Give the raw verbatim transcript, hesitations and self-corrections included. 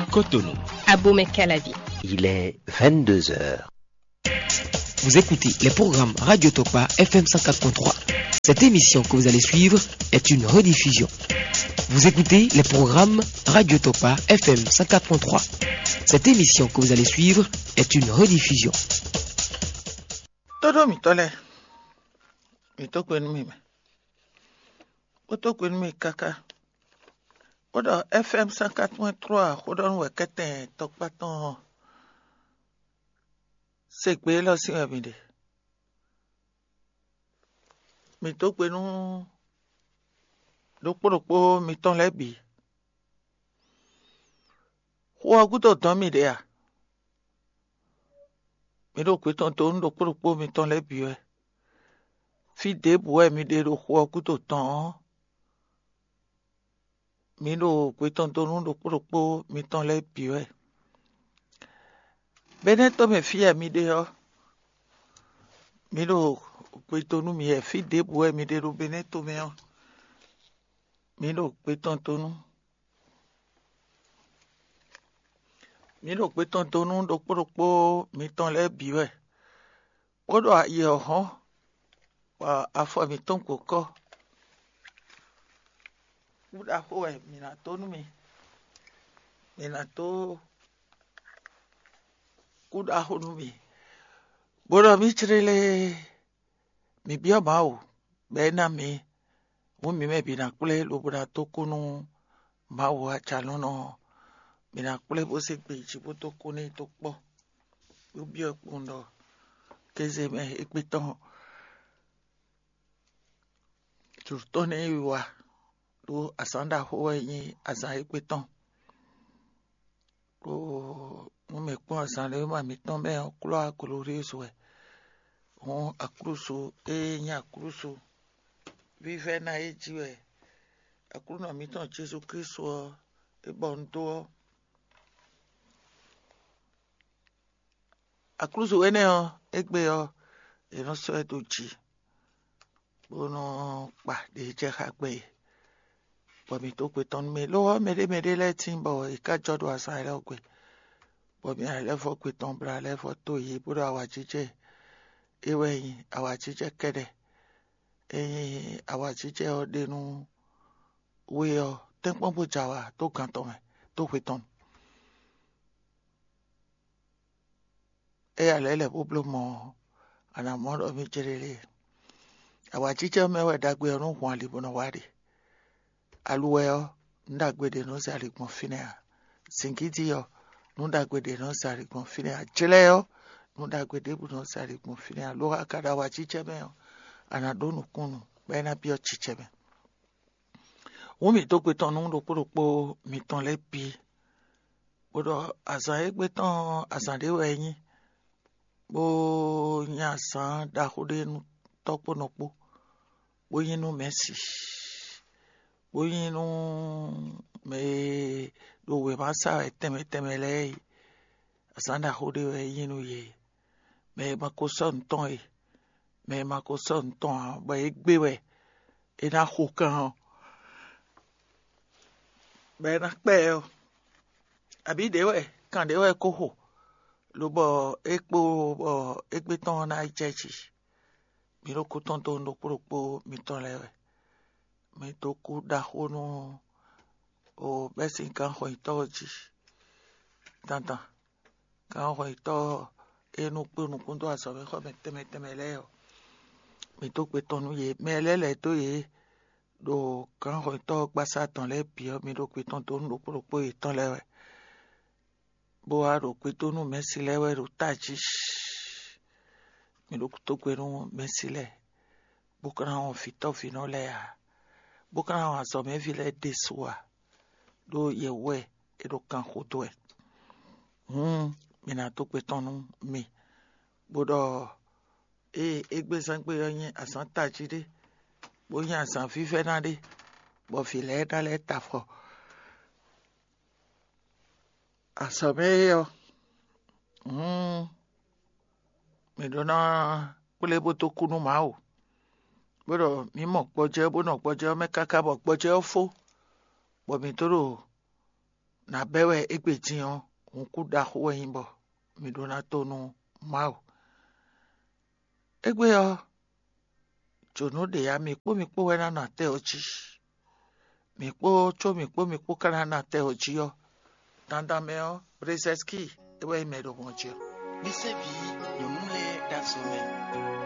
Cotonou. Abomey Calavi. Il est vingt-deux heures. Vous écoutez les programmes Radio Tokpa F M cent quatre point trois. Cette émission que vous allez suivre est une rediffusion. Vous écoutez les programmes Radio Tokpa F M cent quatre point trois. Cette émission que vous allez suivre est une rediffusion. Tóɖó mǐtɔn lɛ́ɛ, mǐ tó gbe nú mi mɛ, bó tó gbe nú mi káká, bó ɖɔ F M cent quatre point trois xó ɖɔ nú wɛ kɛ́tɛn tɔkpá tɔn ɔ́, se gbe élɔ́ sín wɛ mi ɖe. Mǐ dó gbe nú ɖokpó ɖokpó mitɔn lɛ́ɛ bǐ. Xó ɔ́ gúdo dɔn mì ɖe a? Mi ɖo gbe tɔn dó nú ɖokpó ɖokpó mitɔn lɛ́ɛ bǐ wɛ. Fí ɖěbǔ wɛ mi ɖe ɖo xó ɔ́ gúdo dɔn ɔ́, mi ɖo gbe tɔn dó nú ɖokpó ɖokpó mitɔn lɛ́ɛ bǐ wɛ. Benɛ́ tomɛ fí e mi ɖe ɔ́, mi ɖo gbe dó nú mì wɛ. Fí ɖěbǔ wɛ mi ɖe ɖo Benɛ́ tomɛ ɔ́, mi ɖo gbe tɔn dó nú mi ɖo gbe tɔn dó nú ɖokpó ɖokpó mitɔn lɛ́ɛ bǐ wɛ, bó ɖo ayi ɔ́ hɔ́n, bɔ afɔ mǐtɔn gǒ kɔ. Kú ɖaxó wɛ mǐ ná dó nú mi, mǐ ná dó kú ɖaxó nú mi, bó ɖɔ mǐ clélé. Mǐ byɔ́ Mawu, bɔ é ná mǐ, hǔn mǐ mɛ bǐ ná kplé lobo ná dó kú nú Mawu Ajalɔ̌nlɔn ɔ́. Mǐ ná kplé bó zé gbe jí bó dó kú n'i dó kpɔ́, bó byɔ́ kpowun ɖɔ kéze mɛ égbé tɔn jlǒ tɔn ní yi wa, ɖó azǎn ɖaxó wɛ nyí azǎn égbé tɔn. Ɖó nú mǐ kpɔ́n azǎn ɖé ma mǐtɔn mɛ ɔ́, klɔ́ aglǒrízo wɛ. Hǔn aklúzu e nyí aklúzu vívɛ́ná e jí wɛ Aklúnɔ mǐtɔn Jezu Klísu ɔ́ é bɔ un dó ɔ́, aklúzu énɛ́ ɔ́, égbé ɔ́, è nɔ sɔ́ ɛ dó jǐ, bó nɔ́ kpa ɖě jɛ xá gbɛn é, bɔ mǐ dó gbe tɔn nú mì. Lo ɔ́, mɛɖé mɛɖé lɛ́ɛ tíin bɔ è ká jɔ ɖo azǎn élɔ́ gbe, bɔ mǐ ná lɛ́ vɔ́ gbe tɔn bó ná lɛ́ vɔ́ dó yě, bó ɖo awǎjijɛ é wɛ nyí awǎjijɛ kɛ́ɖɛ́. Ényí awǎjijɛ ɔ́ ɖe nú we ɔ́, tɛ́nkpɔ́n bó jɛ awǎ dó gan tɔn mɛ, dó hwe tɔn nu. Éyɛ́ ǎ lɛ́ lɛ̌ bó bló mɔ̌ ɔ́, a nǎ mɔ ɖɔ mì jlé lé. Awǎjijɛ ɔ́ mɛ wɛ ɖagbe ɔ́ nɔ́ hun ali bó nɔ́ wa ɖe. Aluwɛ ɔ́, nǔ ɖagbe ɖě nɔ́ zɛ ali gbɔn fínɛ́ ǎ. Zǐngídi ɔ́, nǔ ɖagbe ɖě nɔ́ zɛ ali gbɔn fínɛ́ ǎ. Jlɛ́ ɔ́, nǔ ɖagbe ɖěbǔ nɔ́ zɛ ali gbɔn fínɛ́ ǎ. Lo a ka ɖo awǎjijɛ mɛ ɔ́, a nǎ ɖó nǔkúnnú, bɔ é ná byɔ́ jijɛ mɛ. Hǔn mǐ dó gbe tɔn nú ɖokpó ɖokpó mitɔn lɛ́ɛ bǐ, bó ɖɔ azǎn égbé tɔn ɔ́, azǎn ɖé wɛ é nyí, bó nyí azǎn ɖaxó ɖé nú tɔ́ kpó nɔ kpó, bó nyí nú mɛ̌si, bó nyí nú mɛ e ɖo wěma sa wɛ tɛnmɛ tɛnmɛ lɛ́ɛ é. Azǎn ɖaxó ɖé wɛ é nyí nú yě. Mɛ e ma ko sɔ́ nǔ tɔn e, mɛ e ma ko sɔ́ nǔ tɔn ǎ, bɔ é gbé wɛ é ná xo kan ɔ́, bɔ é ná kpɛ ɛ ɔ́, abǐ ɖě wɛ kan ɖě wɛ é ko xo, lobɔ é kpo bɔ égbé tɔn ɔ́ ná yi jɛ jǐ. Mi ɖo kú tɔn dó nú ɖokpó ɖokpó mitɔn lɛ́ɛ wɛ. Mi dó kú ɖaxó nú o bɛ́ sín gǎnxɔnyitɔ́ ɔ́ jí dandan. Gǎnxɔnyitɔ́ e nɔ kpé nukún dó azɔ̌mɛxɔmɛ tɛnmɛ tɛnmɛ lɛ́ɛ ɔ́, mi dó gbe tɔn nú yě. Mɛ lɛ́ɛ lɛ̌ dó yě ɖo gǎnxɔnyitɔ́ ɔ́ gbasá tɔn lɛ́ɛ bǐ ɔ́, mi ɖo gbe tɔn dó nú ɖokpó ɖokpó yětɔn lɛ́ɛ wɛ, bó wá ɖo gbe dó nú mɛ̌si lɛ́ɛ wɛ ɖo tají. Mi ɖo dó gbe nú mɛ̌si lɛ́ɛ, bó ka ná wɔn vǐtɔ́vǐnɔ lɛ́ɛ ǎ, bó ka ná wɔn azɔ̌mɛví lɛ́ɛ ɖésú ǎ, ɖó yě wɛ é ɖo kan xo dó wɛ. Hǔn mi ná dó gbe tɔn nú mi, bó ɖɔ ée égbézángbé ɔ́ nyí azǎn tají ɖé, bó nyí azǎn vívɛ́ná ɖé, bɔ vǐ lɛ́ɛ ná lɛ́ ta afɔ. Azɔ̌ mɛ é ɔ́, hǔn mǐ ɖó ná kplé bó dó kú nú Mawu, bó ɖɔ mǐ mɔ gbɔjɛ́ bó nɔ gbɔjɛ́ ɔ́ mɛ káká bɔ gbɔjɛ́ ɔ́ fó, bɔ mǐ tó ɖo nǎ bɛ́ wɛ égbé din ɔ́, hǔnkú ɖaxó wɛ nyí bɔ mi ɖó ná tó nú Mawu. Égbé ɔ́, jǒnú ɖě ya mi kpó mi kpó wɛ ná nɔ atɛ ɔ́ jí. Mi kpó có mi kpó mi kpó ka ná nɔ atɛ ɔ́ jí ɔ́, dandan mɛ ɔ́, Brezɛskí é wɛ nyí mɛ e ɖo hɔn jí ɔ́. Mi sɛ́ vǐ nyɔ̌nu lɛ́ɛ ɖó azɔ̌ mɛ.